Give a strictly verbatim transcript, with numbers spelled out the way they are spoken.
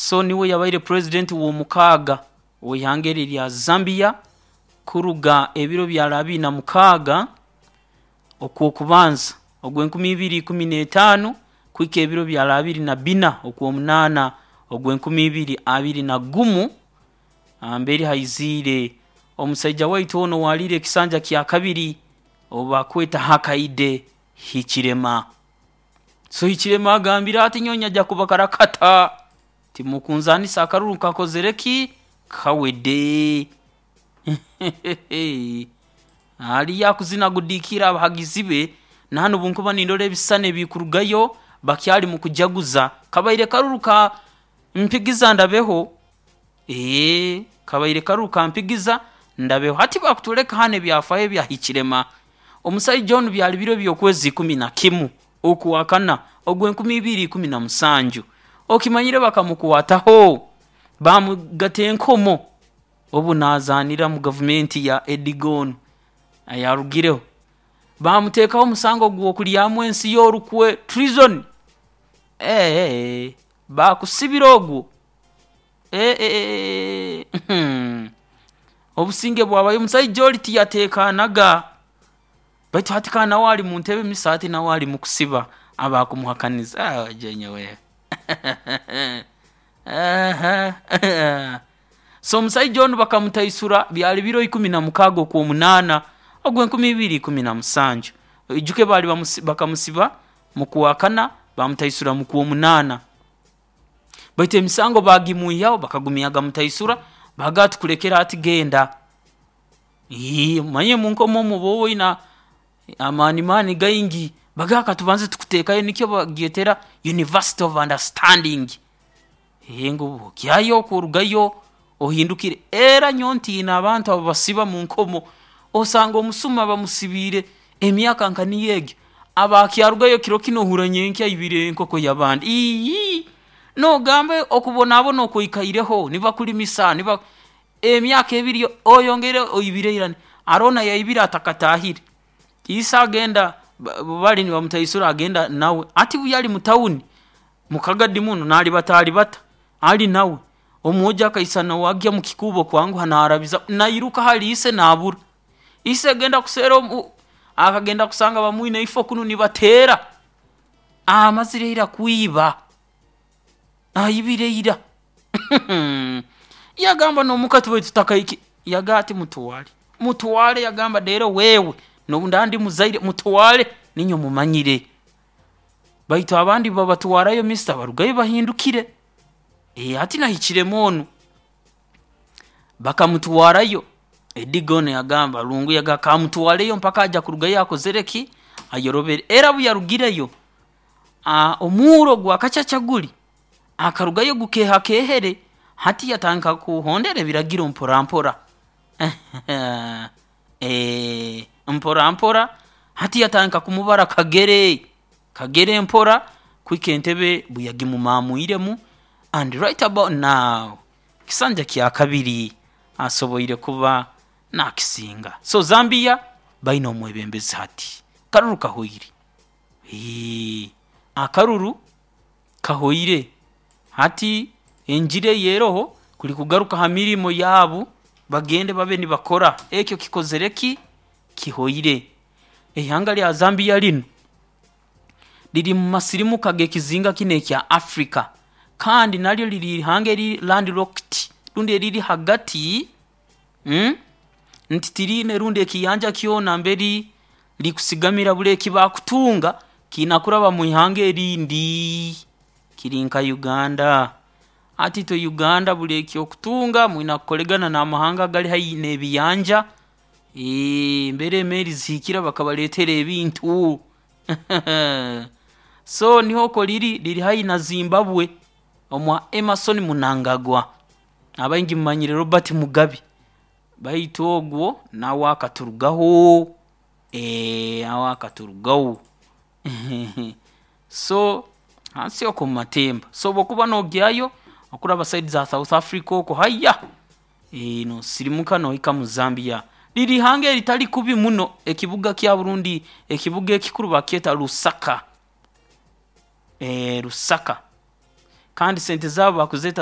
So niwe yabaire president w'omukaaga ow'ihanga eri erya Zambia kuruga ebiro byali abiri na mukaaga okw'okubanza ogw'enkumi ibiri ikumi n'etaano kuhika ebiro byali abiri na bina okw'omunaana ogw'enkumi ibiri abiri na gumu, mbere haiziire omusaija waitu onu owaaliire ekisanja kya kabiri ou bakweta Hakainde Hichilema. So Hichilema agambire ati nyowe nyajja kubakarakata, timukunzaanisa, akaruru nkakozere ki, kawedde. Aliyo akuzina agudiikiire abahagizi be, na hanu obu nkuba nindora ebisisani ebikurugayo bakyali mu kujaguza. Kabaire karuru ka mpigiza ndabeho, eeh, kabaire karuru ka mpigiza ndabeho. Hati bakutwoleka hanu ebyafaayo ebya Hichilema. Omusaija onu byali biro by'okwezi ikumi na kimu okwakana ogw'enkumi ibiri ikumi na musanju, okimanyire bakamukwataho baamugata enkomo obu naazaanira mu gavumenti ya Eddie Gon ayarugireho, baamuteekaho omusango gw'okulyamu ensi ye orukwe, treason, eeh, baakusibire ogwo, eeh eeh hmm, obusinge bwabayo, omusaija oli tiyateekaanaga baitu hati kandi nawe ali mu ntebe mister hati nawe ali mu kusiba abakumuhakaniza, aah ojeenye we so omusaija onu bakamutaisura byali biro ikumi na mukaaga okw'omunaana ogw'enkumi ibiri ikumi na musanju. Oijuke baali bamusi bakamusiba mu Kwakana baamutaisura mu Kwomunaana, baitu emisango baagimwihaho bakagumya nibagamutaisura baagamba tukulekere hati genda. Iii omanyire omu nkomo omu oba oine amaani maani gaingi, bagamba katubanze tukuteekayo nikyo bagyetera university of understanding, eeh ngu ogyayo oku orugayo ohindukire. Era nyowe ntiina abantu abu basiba mu nkomo, osanga omusuma bamusibiire emyaka nka niyo egi, aba akyarugayo kiro kinu ohurra nyenkya aibire enkoko y'abandi, iiii noogamba okubonabona oku oikaireho nibakulimisa niba emyaka ebiri oyongeire oibire ira, haroho n'ayaibire atakataahire, ise agenda obu baali nibamutaisura agenda nawe, hati obu yali mu town mu kagadi munu naalibatalibata ali nawe, omwojo akaisana ow'agya omu kikuubo kwanguha naarabiza nairuka hali ise naabura, ise kugenda kuseera omu akagenda kusanga bamwine ifo kunu nibateera, amazire ira kwiba, aibire ira yagamba n'omuka tubaire tutakaikire, yagamba ati mutwale, mutwale yagamba reero wewe nobu ndaaba ndi muzaire mutwale ninyowe mmumanyire, baitu abandi babatwarayo mister barugayo bahindukire. Hati na Hichilema onu bakamutwarayo, Eddie Gon yagamba Lungu yagamba kamutwareyo mpaka ajya kurugayo akozere ki, ayorobere. Era obu yarugireyo, omuuro gwa kacaca guli, akarugayo gukeehakeehere, hati yatandika kuhondera ebiragiro mpora mpora mpora mpora hati yatandika kumubara kagere, kagere mpora kuhika entebe obu yagimumaamwiremu and right about now ekisanja kya kabiri asoboire kuba naakisinga. So Zambia baine omwebembezi hati, akaruru kahoire, akaruru kahoire, hati enjiri eyeeroho kuli kugaruka ha mirimo yaabu bagende babe nibakora, eki kikozere ki, kihoire. Ihanga lya Zambia linu riri mu masirimuka g'ekizinga kinu ekya Africa kandi naryo riri ihanga eriri land locked rundi eriri hagati, nti tiriine rundi ekiyanja kyona mbere rikusigamira, buli eki bakutunga kiine kuraba mwihanga erindi, kiri nka Uganda. Hati itwe Uganda buli eki okutunga mwina kukoregana n'amahanga agali haihi n'ebiyanja, mbere emeeri zihikira bakabaleetera ebintu so nuho riri, riri haihi na Zimbabwe omwa Emmerson Mnangagwa, abaingi mumanyire Robert Mugabe baitu ogwo nawe akaturugaho, nawe akaturugaho so hansi okwo mumatemba. So obu okuba noogyayo okuraba side za South Africa okwo haiya, noosirimuka nohika mu Zambia. Riri ihanga eritali kubi muno, ekibuga kyabu rundi ekibuga ekikuru bakyeta Lusaka, Lusaka kandi sente zaabu bakuzeeta.